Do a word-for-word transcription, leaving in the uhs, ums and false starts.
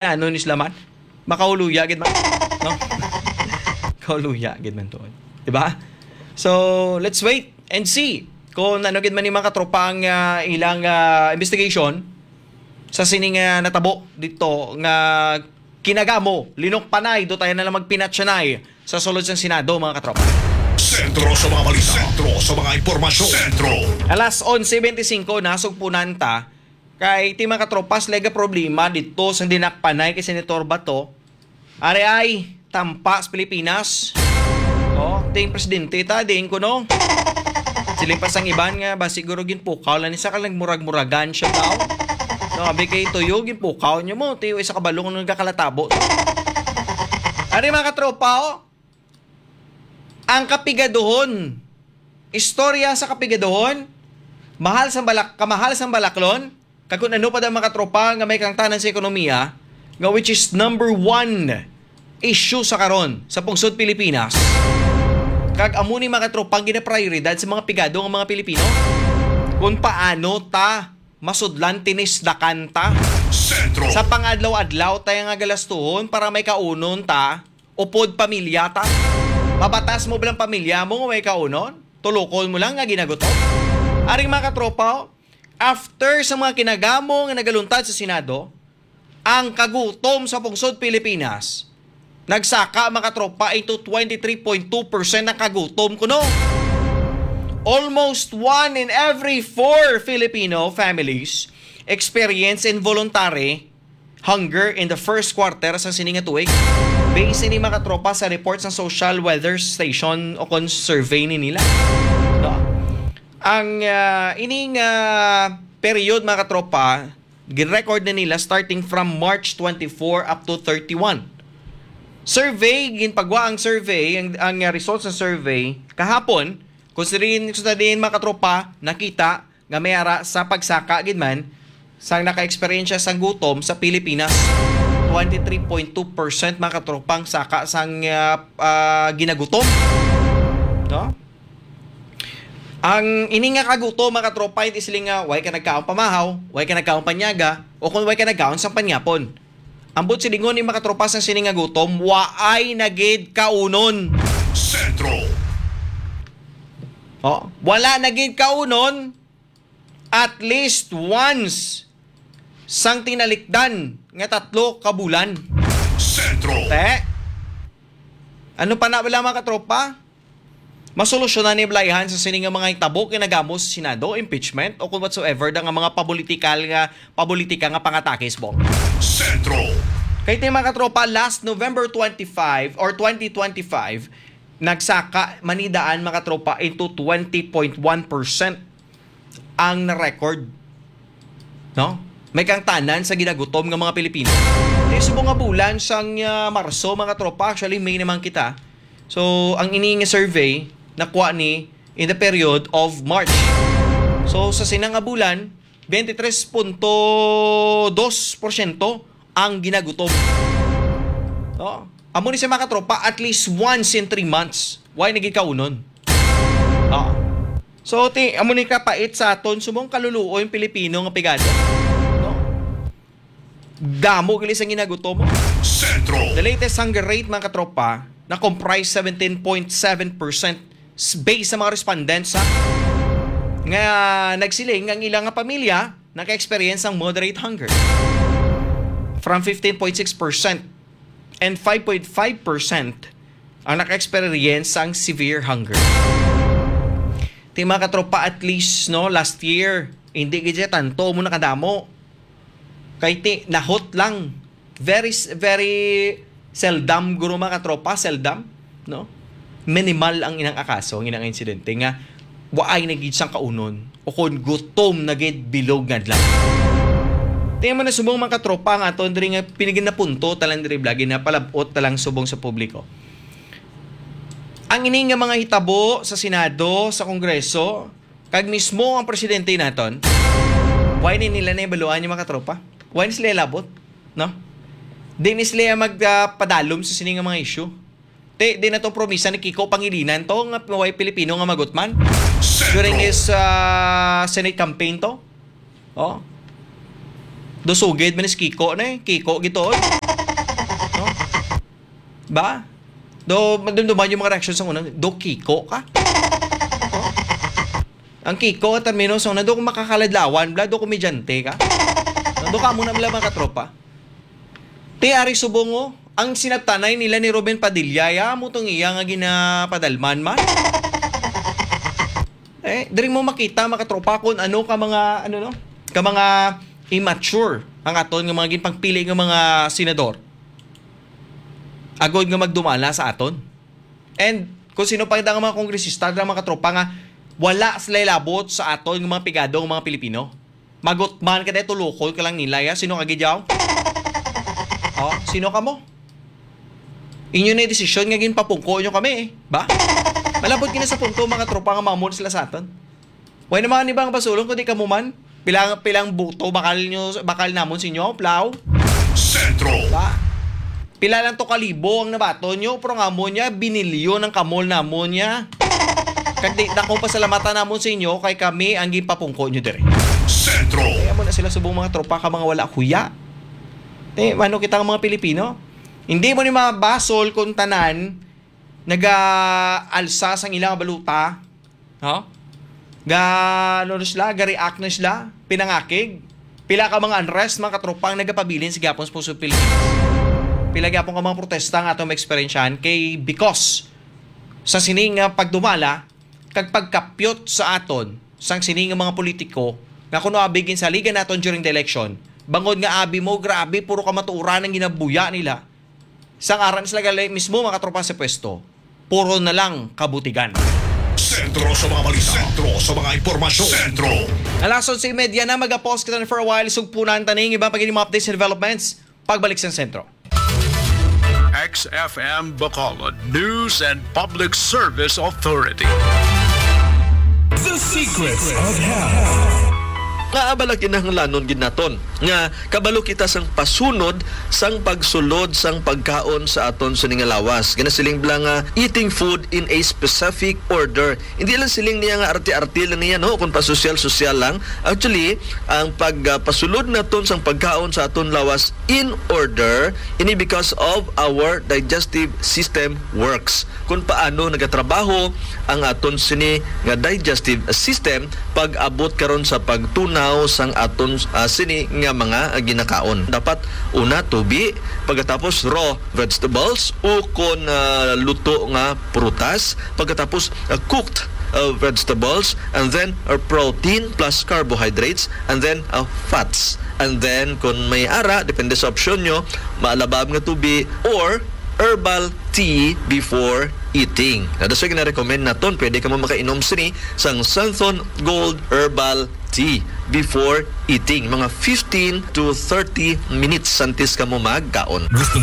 ano ni sila man? Makahuluya gid man, no? Kahuluya gid man to. Di ba? So, let's wait and see kung ano gid man ni mga katropa ang, ah, ilang, ah, investigation sa sining, ah, natabo dito nga kinagamo, linok panay, do tayo na lang magpinatsanay sa sulod sang Senado, mga katropa. Sentro sa mga balita. Sentro sa mga impormasyon. Sentro. Alas onse bente singko, nasugpunan ta. Kay ti mga katropas, lega problema dito sa dinakpanay kay Senator Bato. Ari ay, tampa sa Pilipinas. Oh, ting presidente ta, diin ko, no? Sila pa sang iban nga, ba siguro ginpukaw lang ni sa kalang murag-muragan siya daw. No, abi kay tuyo, ginpukaw niyo mo. Tiyo, isa ka balong nagkakalatabo. Ari, mga katropa, oh. Ang kapigaduhon. Istorya sa kapigaduhon. Mahal sang balak-, kamahal sang balaklon. Kag kung ano pa daw, mga katropa, nga may kangtanan sa ekonomiya, nga which is number one issue sa karon sa pungsod Pilipinas. Kag amo ni, mga katropa, ang ginaprioridad sa mga pigado nga mga Pilipino. Kung paano ta masudlan, tinisdakan ta. Sentro. Sa pangadlaw-adlaw tayo nga galastuhon para may kaunon ta, upod pamilya ta. Mabatas mo bilang pamilya mo nga may kaunon? Tulokon mo lang nga ginagutom? Aring mga katropa, oh, after sa mga kinagamo nga nagaluntad sa Senado, ang kagutom sa pungsod Pilipinas nagsaka, mga katropa, into twenty-three point two percent ang kagutom kuno. Almost one in every four Filipino families experience involuntary hunger in the first quarter sa sini nga tuig. Base ini, mga katropa, sa report sa Social Weather Station o kon survey ni nila. No? Ang, ah, ining, ah, period, mga katropa, gin-record na nila starting from March twenty-four up to thirty-one. Survey, ginpagwa ang survey, ang, ang, ah, results ng survey kahapon, kung sa din, kung sa din, mga katropa, nakita nga may ara sa pagsaka gid man sang naka-eksperyensya sang gutom sa Pilipinas. Twenty-three point two percent, mga katropang, saka sang, ah, ah, ginagutom. No? Ang ini nga kagutom, mga katropa, hindi sila nga way ka nagkaon pamahaw, way ka nagkaon panyaga, o kung way ka nagkaon sang panyapon. Ambot silingon ni, mga katropa, sang sini nga gutom, waay na gid kaunon. Sentro. Oh, wala na gid kaunon at least once sang tinalikdan nga tatlo ka bulan. Sentro. Te, ano pa na wala, mga katropa? Masolusyonan ni Blayhan sa sini nga mga hitabo kinagamo sa Senado, impeachment, o kung whatsoever da nga mga papolitikal nga, papolitika nga pangatakis, Bong. Sentro. Kay ti, mga katropa, last November twenty-five or twenty twenty-five, nagsaka manidaan, mga katropa, into twenty point one percent ang na-record. No? May kangtanan sa ginagutom nga mga Pilipino. Ti subong nga bulan sang, ah, Marso, mga katropa, actually May naman kita. So, ang ini nga survey nakuha ni in the period of March. So, sa sina nga bulan, twenty-three point two percent ang ginagutom. No? Amo ni sa mga katropa, at least once in three months. Why nagikaunon? Ah. So, ti, amo ni kapait sa aton, subong kaluluoy ang Pilipino nga pigado. No? Damo gali sa ginagutom. Sentro. The latest hunger rate, mga katropa, na comprise seventeen point seven percent s-, based sa mga respondents, ha, nga nagsiling ang ilang nga pamilya naka-experience sang moderate hunger. From fifteen point six percent and five point five percent ang naka-experience sang severe hunger. Ti, mga katropa, at least, no, last year, hindi gid siya tanto mo nakadamo. Kay ti, nahot lang. Very, s-, very seldom, guro, mga katropa, seldom, no? Minimal ang inang akaso, ang inang insidente nga waay na gid sang kaunon o kon gutom na gid bilog nga adlaw. Ti, amo na subong, mga katropa, ang aton diri nga pinigin na punto talang diri, blagi na palabot talang subong sa publiko. Ang ini nga mga hitabo sa Senado, sa Kongreso, kag mismo ang presidente naton, why ni nila na ibaluan yung mga katropa? Why ni sila labot? No? Di ni sila mag, ah, padalom sa sini nga mga issue. Ti, di na to promisa ni Kiko Pangilinan to, nga way Pilipino nga magutman. Sentro. During his, ah, Senate campaign to. Oh. Do sugid man si Kiko na eh. Kiko gituod. No? Ba? Do, madumduman yung mga reaction sa una. Do Kiko ka? No? Ang Kiko, termino sa una, do kung makakaladlawan, bla, do komedyante ka? No? Do ka muna, bla, mga katropa. Ti, ari subong, oh. Ang sinabtanay nila ni Robin Padilla, ya, mo tong iya nga ginapadalman man. Eh, diri mo makita, mga katropa, kung ano ka mga, ano, no? Ka mga immature ang aton nga mga ginpangpili nga mga senador. Agod nga magdumala sa aton. And kung sino pa kita nga mga kongresista, mga katropa, nga wala sila labot sa aton nga mga pigado nga mga Pilipino. Magutman ka dahil tulukol ka lang nila, ya. Sino ka gid yaw? Oh, sino ka mo? Inyo na yung desisyon nga ginpapungko nyo kami eh. Ba? Malabot gina sa punto, mga tropa, nga mamon sila sa aton. Way na mga nibang basulon, kundi kamo man. Pilang, pilang buto, bakal nyo, bakal namon sa inyo, plaw? Sentro. Ba? Pila lang to kalibo ang nabaton nyo, pero nga mo niya, binilyon ang kamol namon niya. Kag di na kong pasalamatan namon sa inyo, kay kami ang gipapungko nyo dire. Sentro. Kaya mo na sila subong mga tropa ka mga wala kuya. Eh, ano kita nga mga Pilipino? Hindi mo ni mabasol kung tanan naga-alsa sang ilang baluta. No? Ga, ano na sila? Ga-react na sila? Pinangakig? Pila ka mga unrest, mga katropang nagapabilin sa gyapon sa puso Pilipino? Pila gyapon ka mga protesta nga atong maeksperiensyahan kay because sa sining nga pagdumala kag pagkapyot sa aton sang sining nga mga politiko nga kuno abi ginsaligan naton during the election, bangod nga abi mo, grabe, puro kamatuoran ang ginabuya nila. Sang aran sila gali mismo, mga tropa sa pwesto, puro na lang kabutigan. Sentro sa mga balita. Sentro sa mga impormasyon. Sentro. Alas onse y media na, mag-pause kita for a while. Sugpunan ta ning iba pa gid mga updates and developments. Pagbalik sa sentro. X F M Bacolod News and Public Service Authority. The Secrets of Health. Nga abala kinahanglanon gid naton nga kabalo kita sang pasunod sang pagsulod sang pagkaon sa aton sini nga lawas. Ginasiling bala nga eating food in a specific order. Hindi lang siling niya nga arte-arte lang niya, no, kung pasosyal-sosyal lang. Actually, ang pagpasulod naton sang pagkaon sa aton lawas in order ini because of our digestive system works. Kung paano nagatrabaho ang aton sini nga digestive system pag-abot karon sa pagtunaw sang aton, ah, sini nga mga ginakaon. Dapat una tubi, pagkatapos raw vegetables, o kon, ah, luto nga prutas, pagkatapos, ah, cooked, ah, vegetables, and then, ah, protein plus carbohydrates, and then, ah, fats. And then, kung may ara, depende sa opsyon nyo, maalabab nga tubi or herbal tea before eating. Na, that's why gina-recommend naton, pwede ka mo makainom sini sang Santhon Gold Herbal Tea before eating, mga fifteen to thirty minutes antes ka mo magkaon. Gusto mo